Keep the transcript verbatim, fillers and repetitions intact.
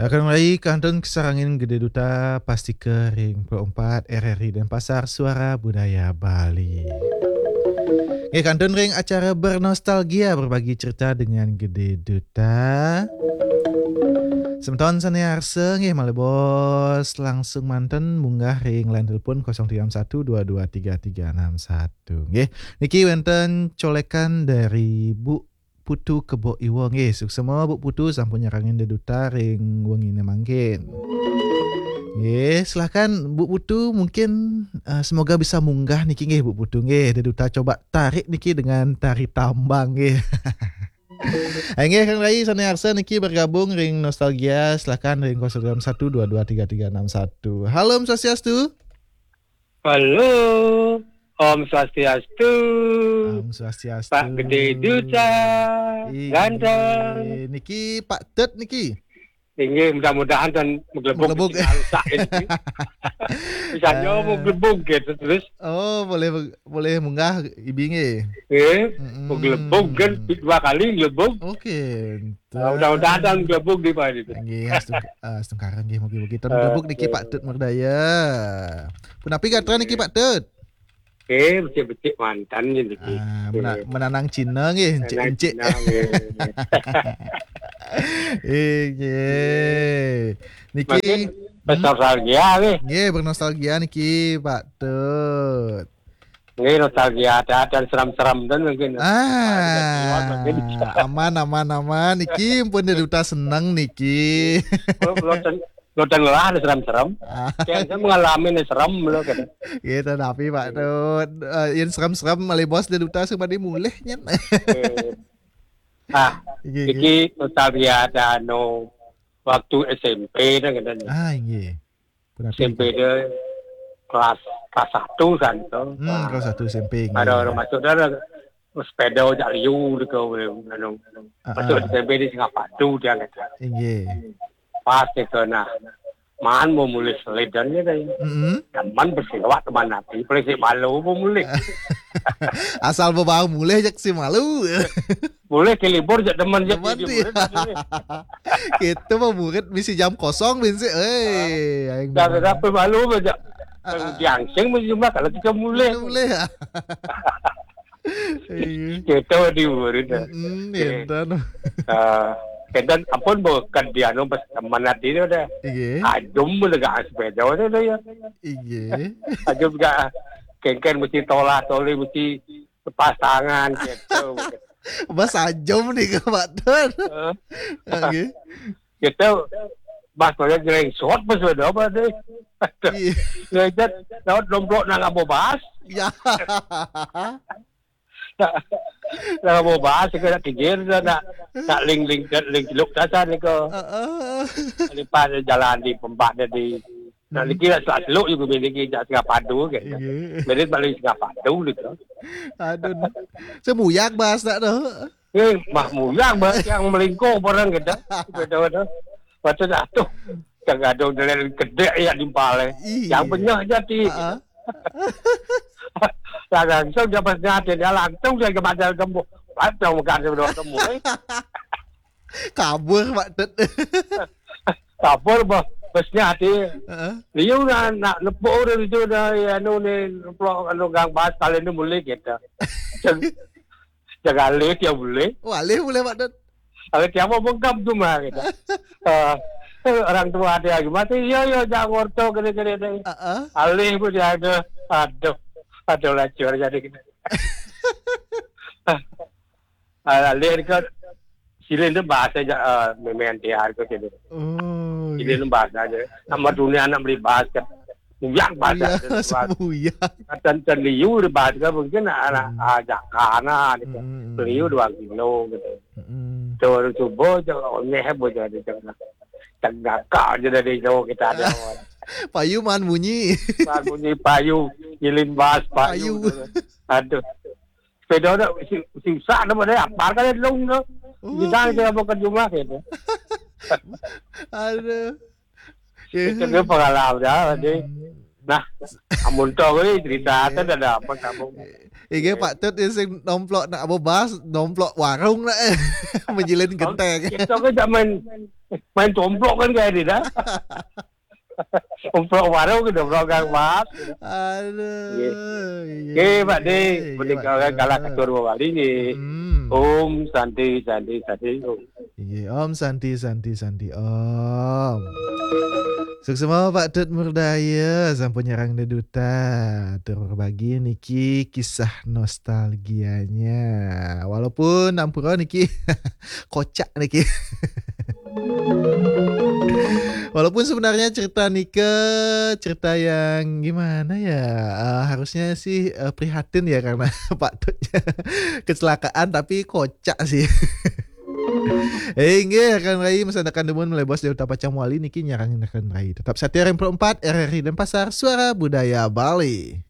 Akan rai kantun kasarengin Gede Duta, pastika ring Pro empat R R I Denpasar, Suara Budaya Bali. Nggih, kantun ring acara Bernostalgia, berbagi cerita dengan Gede Duta. Semeton sane arsa nggih malih bos langsung manten munggah ring line telepon kosong tiga enam satu dua dua tiga tiga enam satu. Nggih, niki wenten colekan dari Bu Putu Kebo Iwa. Nggih, suksma Bu Putu sampun nyarengin Gede Duta ring wengine mangkin. Nggih, silakan Bu Putu, mungkin, eh, semoga bisa munggah niki nggih Bu Putu nggih. Gede Duta coba tarik niki dengan tari tambang nggih. Inggih, Kang Rai sane arsa niki bergabung ring Nostalgia, silakan ring kosong enam satu dua dua tiga tiga enam satu. Halo, Om Swastiastu. Halo, Om Swastiastu. Om Swastiastu. Pak Gede Duta, inggih, ganteng. Niki Pak Tut niki. Inggih, mudah-mudahan ten maglebug. Maglebug. Niki rusak niki. Bisa nyo maglebug gitu terus. Oh, boleh, boleh munggah ibi nggih. Eh, maglebug kan dua kali maglebug. Oke. Nah, mudah-mudahan ten maglebug di Pak itu. Nggih, astungkara nggih, mugi-mugi ten maglebug niki Pak Tut Murdaya. Punapi gatra niki Pak Tut? Eh, becik-becik manten niki. Ah, mena-, menanang Cina nggih, encik-encik. Menanang Cina nggih. Inggih. Niki, mungkin hmm? Bernostalgia nggih. Nggih, bernostalgia niki, Pak Tut. Nggih, nostalgia ada dan serem-serem ten mungkin. Ah, aman, aman, aman. Niki pun Gede Duta seneng niki. Kalau, kalau ten-, kalau ten lah ada serem-serem. Ah. Kayak saya mengalami nih serem lho, kan. Gitu, tapi Pak Tut, eh, yang serem-serem malih bos Gede Duta sing badhe mulih nyen. Eh. Ah, nggih, nggih. Iki nostalgia ada anu waktu S M P dah, kan. Ah, nggih. Punapi? S M P dia kelas, kelas satu kan, to. Hmm, nah, kelas satu S M P, nggih. Ada orang masuk dah, ada sepeda jak liu dia ke, anu, ah, masuk ah. S M P di Singapadu dia, kan. Nggih. Pas dia ke, nah, man mau mulih selidan dia tadi. Mm-mm. Teman bersilawat teman nanti, paling si malu mau mulih. Asal bebawa mulih jak si malu. Boleh ke libur jak teman jak. Teman jadi dia. Murid tadi. Kita mah murid misi jam kosong bin sih. Eh, aing dah demen. Berapa malu aja. Ah, ah. Diangsing mesti cuma kalau kita mulai. Kita mulai ya. Iya. Kita di murid dah. Mm-mm, eh, enten. Ah, enten ampun bukan dia anu pas teman nanti dia udah. Iya. Ajum udah gak sepeda udah ya. Iya. Ajum gak kengken mesti tolah toli mesti lepas tangan gitu. Bas ajum nih ke Pak Tun. Heeh. Nggih. Gitu. Bas saya jeleng shot bas beda apa deh. Iya. Ngejat laut domplok nang abo bas. Ya. Nang abo bas ke nak kigir nak nak ling ling ling celuk dasar ni ke. Heeh. Lepas jalan di pembak di Nah, hmm. Niki lah seluk juga miliki jak Singapadu kan. Iya. Jadi balik Singapadu gitu. Aduh. Semuyang bahasa tu. Eh, mah muyang bahasa yang melingkung orang gitu. Gitu tu. Waktu dah tu. Yang ada dari kedek ya di pale. Iya. Yang benyah jadi. Ha-ha. Lah langsung dia pas nyate dia langsung dia ke bandar gemuk. Langsung makan dia gemuk. Eh. Kabur Pak Tut. Kabur bah, bos nyate. Heeh. Liu nak, nak nepuk orang itu dah, ya, anu ni, nepuk anu gang bas kali ni mulai kita. Jaga alih dia boleh. Wah, alih boleh Pak Tut. Alih dia mau bengkam tu mah kita. Ah, orang tua dia lagi mati, ya, ya, jangan ngorto kena-kena ni. Heeh. Alih pun dia ada. Aduh, aduh lacur jadi kita. Ah, alih ke silin tu bahasa ja, ah, memain dia ke gitu. Oh, silin tu bahasa aja. Sama dunia anak beli bahasa. Muyang bahasa. Iya, semuyang. Katan liu di bahasa mungkin anak, hmm, ah, jakana gitu. Hmm, hmm, hmm. Liu dua kilo gitu. Hmm. Terus subuh je, onyeh bo jadi tengah. Tengah kak je dari jauh kita ada. Payu man bunyi. Man bunyi payu, silin bas payu. Payu. Aduh. Sepeda dah si, si usak nama dia, apar kali long tu. Oh. Kita dia bukan jumlah gitu. Aduh. Itu dia pengalaman dah, jadi. Hmm. Nah, amun to euy cerita téh ada apa kamu? Inggih, Pak Tut, ieu sing nomplok nak bebas, nomplok warung nak, menjilin genteng. Kita kan tak main main tomplok kan kayak ini dah. Tomplok warung gitu, tomplok gang mas. Aduh. Oke, Pak De, menikah orang kalah ketua dua kali nih. Hmm. Om Santi, Santi, Santi. Om. Iya, Om Santi, Santi, Santi, Om. Suksma Pak Tut Murdaya, sampun nyerang deduta. Tur berbagi niki kisah nostalgianya. Walaupun ampura niki kocak niki. Walaupun sebenarnya cerita nika cerita yang gimana ya? Eh, harusnya sih eh, prihatin ya karena Pak Tut kecelakaan, tapi kocak sih. Eh, inggih, rekan rai, masa akan demun mulai bos dari Tapacang Wali niki nyarang rekan rai. Tetap setia R M empat R R I Denpasar, suara budaya Bali.